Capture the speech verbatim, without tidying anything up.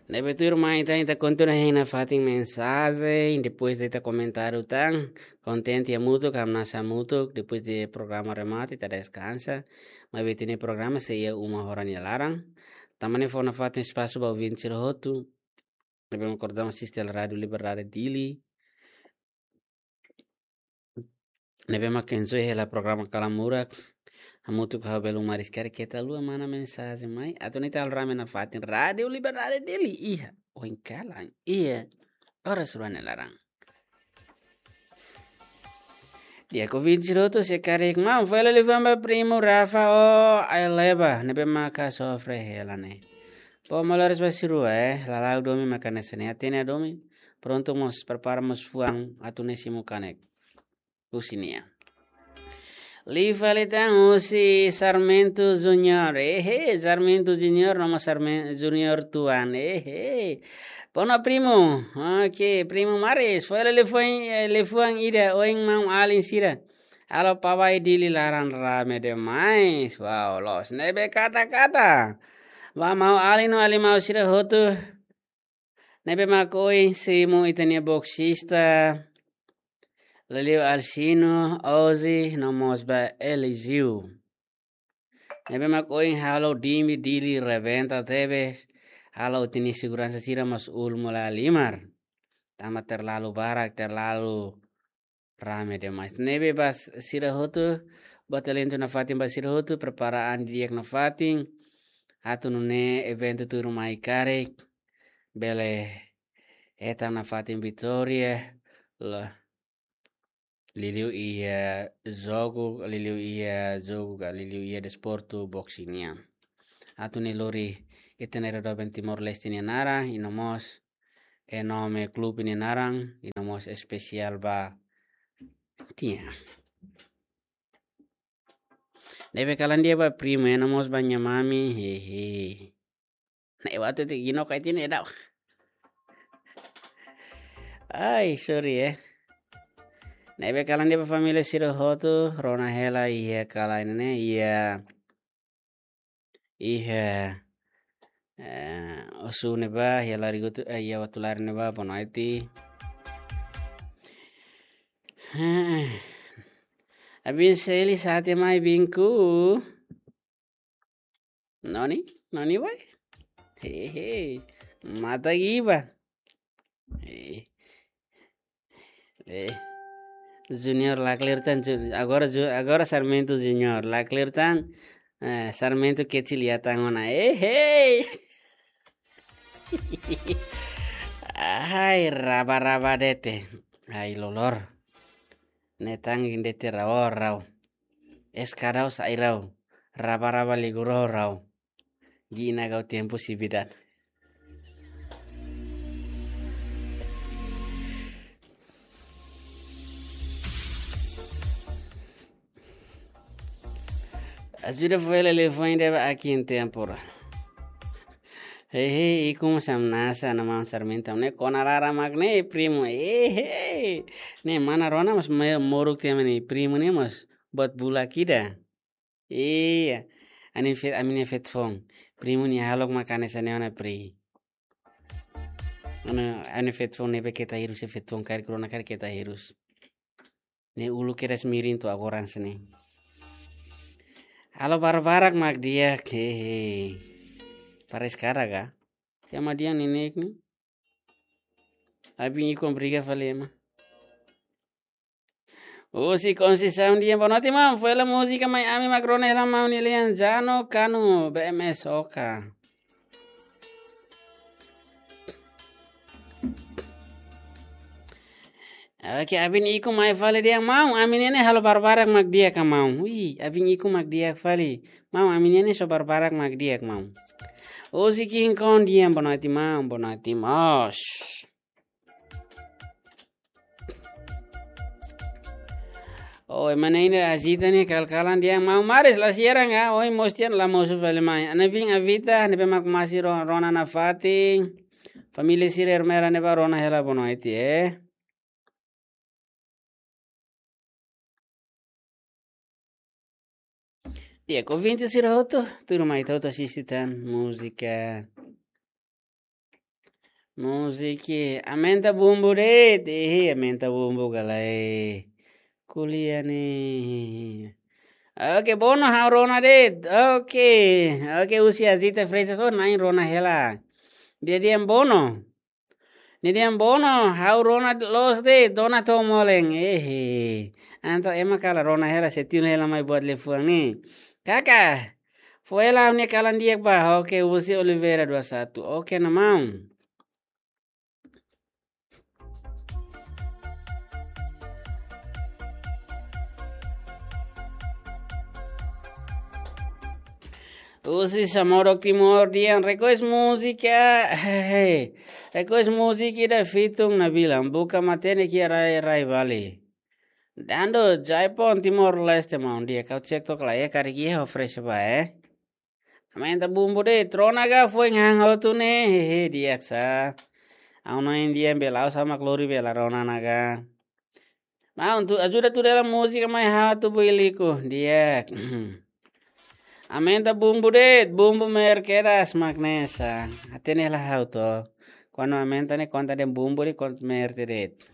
Ne'ebé tuirmai ita, ita kontinua hein nafatin mensajen, depois de ita komentáriu tan, kontente hamutuk, hamnasa hamutuk, depois de programa remata, ita deskansa, maibé ita-nia programa sei iha uma hora nia laran. Tanba ne'e fó nafatin espasu ba ouvinte sira hotu, ne'ebé mak koordena asiste Rádiu Liberdade Dili, ne'ebé mak enjoy hela programa Kala Murak. Hamutuk ho belun maris karik keta haluha mana mensajen mai. Atu nune'e ita halo rame nafatin Rádiu Liberdade Dili iha oin kalan, iha oras rua nia laran. Di'ak ouvinte sira hotu, se karik maun, fó hela liafuan ba primu Rafa ho Aileba, ne'ebé maka sofre hela ne'e. Fó moles ba sira rua, eh, lala'ok domin maka hanesan ne'e, hatene domin. Prontu mós, prepara mós fuan atu nune'e simu kanek husi nia. Liu fali tan husi Sarmento Junior. Ehe, Sarmento Junior, no mós Sarmen-, Junior Tuan. Ehe. Boa noite, primo. Ok, primo Maris. Fó hela liafuan, eh, liafuan ida ohin maun-alin sira. Halo pá ba Dili laran rame demais. Wow, loos. Ne'ebé katak-katak ba maun-alin no alin maun sira hotu. Ne'ebé mak ohin simu ita-nia boksista, liuliu Alcino, Ozzy, no mós ba Eliseu. Ne'ebé mak ohin halo Dili, Dili rebenta tebes, halo ita-nia seguransa sira mós uluk mola halimar. Tanba terlalu barak, terlalu rame demais. Ne'ebé ba sira hotu, ba talentu nafatin ba sira hotu, prepara an di'ak nafatin, atu nune'e eventu tuirmai karik bele hetan nafatin vitória, la, liuliu iha jogu, liuliu iha jogu ka, liuliu iha desportu boxing nian. Atu nune'e lori ita-nia rai doben Timor-Leste nia naran, i no mós e nome klube nia naran, i no mós espesiál ba tiha. Ne'ebé kalan di'ak ba primu, i no mós ba nia mami, hehe. Ne'e waktu itu gino kai tine dau. Ai, sorry, eh. Ne'ebé kalan di'ak ba família sira hotu, rona hela iha kalan ne'e, iha, iha, eh, osu ne'ebá, iha Larigutu, eh, iha Watulari ne'ebá, boa noite. Abin Seli sate mai binku. Noni, noni wai? Hehe. Mata giba. Eh. Eh. Junior la kleur tan, Ju-, agora Ju-, agora Sarmento Junior la kleur tan, eh, Sarmento kecil ya tan ona. Eh, hey. Ai, raba-raba de'it. Ai, lolor. Ne'e tan de'it rau-rau. Eskadau sai rau. Raba-raba ligu rau-rau. Gina kau tempu si bidan. Ajuda fó hela liafuan ida ba aqui em tempora. Hehe, ikus hamnasa, nama Sarmento ne'e kona laran mak ne'e, primo. Hehe. Ne'e mana rona mós mai moruk tiha mak ne'e, primo ne'e mós buat bulak ida. Iya. Ami-nia fe-, ami-nia feto foun. Primu nia hahalok mak hanesan ne'e ona pri. Anu, ami-nia feto foun ne'ebé keta hirus, feto foun karik rona karik keta hirus. Ne'e uluk kedas mirin to'o agora hanesan ne'e. Halo barak-barak mak di'ak, hehe. Pares kada ka? Ya madian nenek ni. Abin ikun briga fali ema. Husi Conceição di'ak, boa noite, maun. Fó hela múzika mai ami mak rona hela maun nia lian Jano Kanu, B M S Oka. Oke, abin ikun mai fali di'ak maun, ami-nia ne'e halo barak-barak mak di'ak ka maun. Ui, abin ikun mak di'ak fali. Maun, ami-nia ne'e só barak-barak mak di'ak maun. Husi King Kong di'ak, boa noite maun, boa noite mós. Oh, ema ne'e ainda agita ne'e kal-kalan di'ak maun, Maris la siaran ka, ohin mós tiha la mosu fali mai. Ana vin Avita, ne'ebé mak masi ro-, rona nafatin. Família sira Ermera ne'ebá rona hela boa noite, eh. Di'ak, ouvinte sira hotu, tuirmai ita hotu asiste tan múzika. Múzika, aumenta bumbu de'it. Ih, aumenta bumbu ka lae. Ko'alia ne'e. Oke, Bono, ha'u rona de'it. Oke, oke, husi Azita Freitas, oh, na'in rona hela. Di'ak, di'ak, Bono. Ne'e dehan Bono, ha'u rona loos de'it, dona to'o moleng. Ehe. Entaun ema kalan rona hela, sei tiun hela mai buat liafuan ne'e. Kaka, fó hela ha'u-nia kalan di'ak ba. Oke, husi Oliveira dua satu. Oke, na maun. Husi Samorok Timor dehan request múzika. Hehe. Request múzika ida Fitun Nabilan. Buka matenek iha rai-rai Bali. Dando Jaipon Timor-Leste maun di'ak. Kau cek to'ok lae, karik iha oferese ba, eh. Aumenta bumbu de'it, rona ka foin han hotu ne'e, hehe, di'ak sa. Ha'u-nia India belau sama klori bela rona ona ka. Maun, ajuda tuda hela múzika mai ha'u atu builiku, di'ak. Aumenta bumbu de'it, bumbu merke das magnesa. Hatene hela ha'u to. Kuandu aumenta ne'e konta de'it bumbu de'it, konta merke de'it.